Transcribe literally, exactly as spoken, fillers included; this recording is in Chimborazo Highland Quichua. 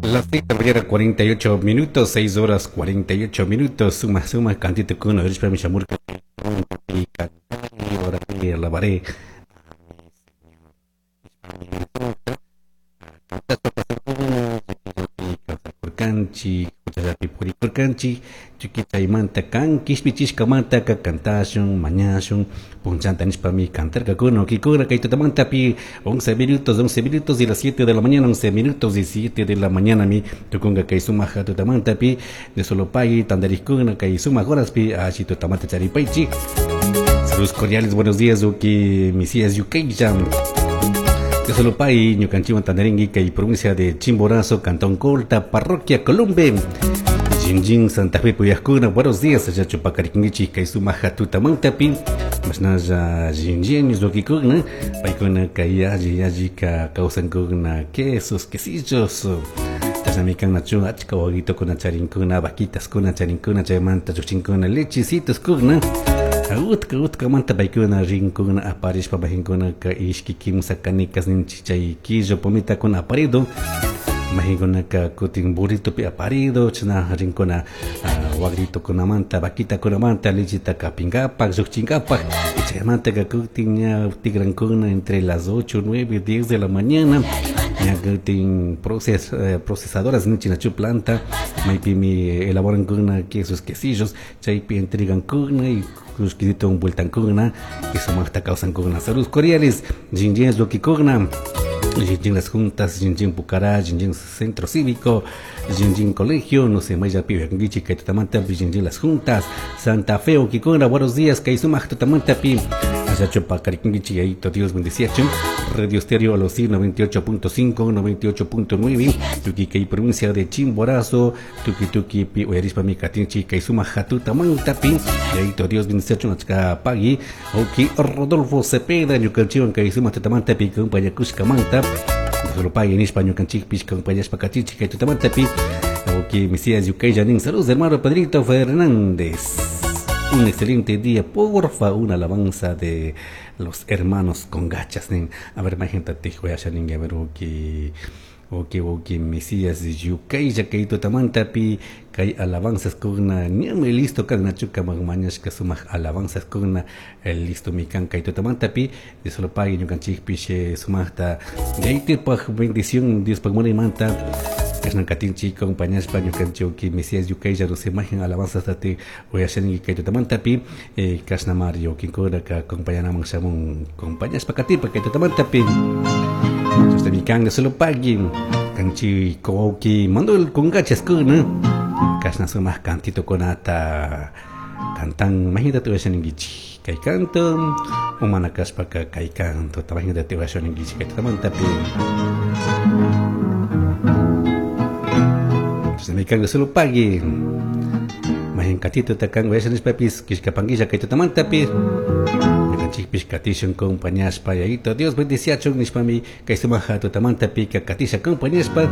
Las seis de la mañana, cuarenta y ocho minutos, seis horas cuarenta y ocho minutos. Suma, suma, cantito con alabaré. Canchi, purikurkanchi, chiquitaymanta kan, kishpichishkamanta ka kantashun, mañashun, punchanta nishpami cantarkakuna, kikuna, kay tutamantapi, once minutos, once minutos y las siete de la mañana, once minutos y siete de la mañana mi tukunga kay sumaja tutamantapi, de solopay, tandariskuna, kay sumaj horaspi, ashi tutamanta charipaychi. Saludos cordiales, buenos días, uki, Misías Yukeya. De Solopay, ñukanchiwan tandaringui, kay provincia de Chimborazo, Cantón Colta, Parroquia Columbe, Jinjin, Santa Fe, Puyascuna. Buenos días, allá chupacariquingichi, kay sumaja tutamantapi, masnaya Jinjin, ñuskikuna, paykuna, kay alli, alli, ka kawsankuna, quesos, quesillos, chasnamikan nachu, achka waguitokuna charinkuna, vaquitas kuna charinkuna, chaymanta chuchinkuna, lechecitos kuna. Utka utka manta paykuna rinkuna aparishpa majinkuna ka ishki kimsa canicas ninchi chay quillo pomita con aparido majinkuna ka kutin burrito pi aparido chana rinkuna wagrito kunamanta vaquita kunamanta lechita kapingapak lluqchingapak chaymanta ka kutin ña tigrankuna entre las ocho, nueve, diez de la mañana ña kutin proces, eh, procesadoras ninchi nachu planta maypimi elaboran kuna quesos quesillos chaypi entregan kuna y kushkidito vueltankuna y sumaqta kawsankuna. Saludos cordiales, Jinjin Lokikuna, Jinjin Las Juntas, Jinjin Pucará, Jinjin Centro Cívico, Jinjin Colegio, no sé, Maya Pibe, Kangichi, Kaytutamanta, Jinjin Las Juntas, Santa Fe, Okikuna, buenos días, Kaysumaq Tutamanta, Pi, Achachupa, Cariquingichi, Ayito, Dios bendeciacho, Radio Estéreo Alosí noventa y ocho punto cinco, noventa y ocho punto nueve, Tuki, Kay, provincia de Chimborazo, Tuki, Tuki, Pi, Oyarispa, Mi, Katinchi, Kaysumaq Tutamanta, Pi, Ayito, Dios bendeciacho, Nachka, Pagui, Oki, Rodolfo Cepeda, Ñukanchiwan, Kaysumaq Tutamanta, Pi, Kumpayakushka, Manta, Solo nishpa ñukanchikpish compañashpa kachichi kay tutamantapi oki Mesías Yucay. Saludos hermano Pedrito Fernández, un excelente día, porfa, una alabanza de los hermanos con gachas. A ver, más gente te a ver oki oki oki Mesías Yucay kay tutamantapi kay alabanzas kuna ñami listo kan nachuka magmañashka sumaq alabanzas kuna listo mi kan kay tutamantapi de solo pague ñukanchikpish sumaqta yaytipaq bendición Dios pagmunaymanta kashnan katinchi compañashpa ñukanchik Mesías Yucay no se imagen alabanzas tati uyashanki kay tutamantapi kashna Mario kinkuna ka compañanaman shamun compañashpa katipa kay tutamantapi mi kan de solo pague kanchi koki mando el con gachas kuna kashna sumaq cantito kunata cantan imagínate uyashaninkichik kay canto umana kashpa ka kay canto imagínate uyashaninkichik kay tutamantapi mi kan de solo pague mahin katito takan uyashanishpapis kishkapankilla kay tutamantapi ñukanchikpish katishun compañashpa yayito Dios bendiciachun nishpami kay sumaja tutamantapi ka katisha compañashpa.